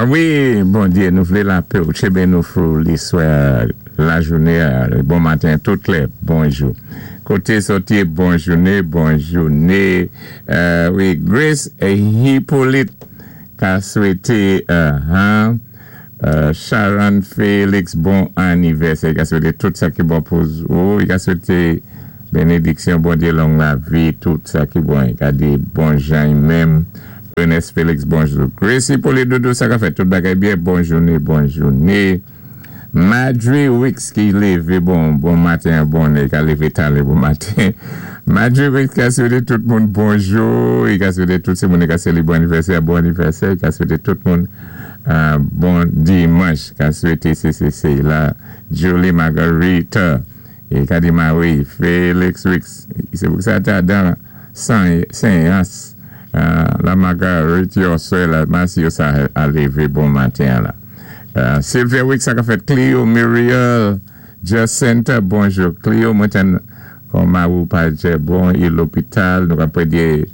Wi, Bondyé, nou vlé lapè ou, tchébé nou fou liswè, lajouné, bon maten, tout lè, bonjou. Koté zòt yé, bon jouné, bon jouné. Wi, Grace Hippolyte ka swété Sharon Félix bon anivèsè. I ka swété tout sa ki bon pou ou. I ka swété bénédiksyon Bondyé, long lavi, tout sa ki bon. I ka di bon jan i menm. Ernest Félix, bonjou. Grace Hippolyte Doudou, sa ka fèt? Tout bagay byen? Bon jouné, bon jouné. Madre Wicks ki lévé bon maten, bon, i ka lévé talè bon maten. Madre Wicks ka swété tout moun bonjou, i ka swété tout sé moun i ka sélébwé anivèsè, bon anivèsè, i ka swété tout moun bon dimanch, ka swété CCC la, Julie Margarita, i ka di Marie Félix Wicks, sé pou sa ta dan Senyans la Marguerite yo sè la masi yo sa a lévé bon maten la. Sylvia Wicks, sa ka fèt? Clio Muriel Jacinta, bonjou Clio, mwen tann kon mari ou pa djè bon, i lopital, nou ka prédyé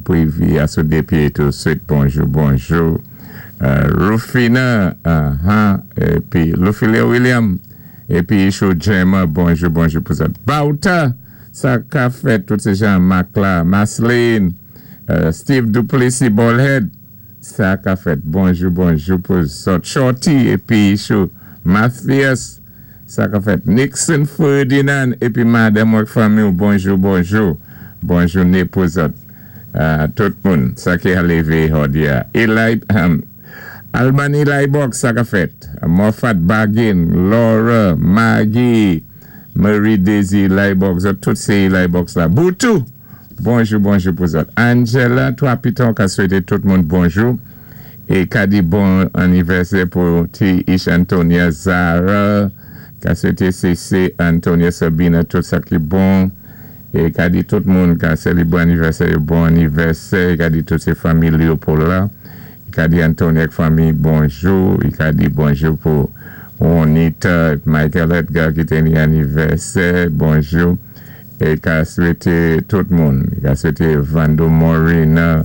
pou i vi a sou dé pyé tou swit. Bonjou, bonjou Rufina, épi Lufilia William, épi Ishou Gemma, bonjou, bonjou pou zòt. Bauta, sa ka fèt? Tout sé Jean Marc la, Masline, Steve Duplessis Ballhead, sa ka fèt? Bonjou, bonjou pou zòt. Shorty épi Ishou Mathias, sa ka fèt? Nixon Ferdinand épi madanm ak fanmi, bonjou, bonjou, bon jouné pou zòt. Tout moun sa ki a lévé jòdi a. Eli Albany Box, sa ka fèt? Moffat Bargain, Laura, Maggie, Marie Daisy Box, tout sé Eli Box la. Boutou, bonjou, bonjou pou zòt. Angela, 3 Piton ka swété tout moun bonjou. É ka di bon anivèsè pou T. Ish Antonia Zara, ka swété CC Antonia Sabina tout sa ki bon. É ka di tout moun ka sélébwé anivèsè, bon anivèsè. I ka di tout sé fanmi Léopold la. I ka di Antonia ak fanmi bonjou. I ka di bonjou pou Juanita, Michael Edgar ki té ni anivèsè, bonjou. É ka swété tout moun. I ka swété Vando Morina,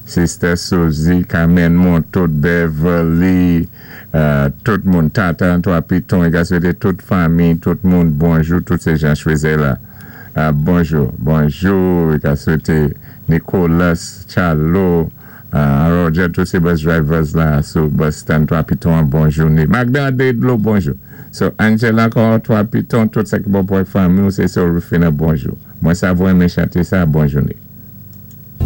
Sister Suzy, Carmen Montot, Beverly, tout moun, Tata 3 Piton, i ka swété tout fanmi, tout moun, bonjou, tout sé Jean Chouezet la. Bonjou, bonjou, i ka swété Nicolas, Chalo, Roger, tout sé bus drivers la sou bus stand 3 Piton, bonjou. Magda Dedlo, bonjou. So, Angela ankò, 3 Piton, tout sa ki bon pou fanmi, sé so Rufina, bonjou. Mwen sa vwé renmen chanté sa, bon jouné.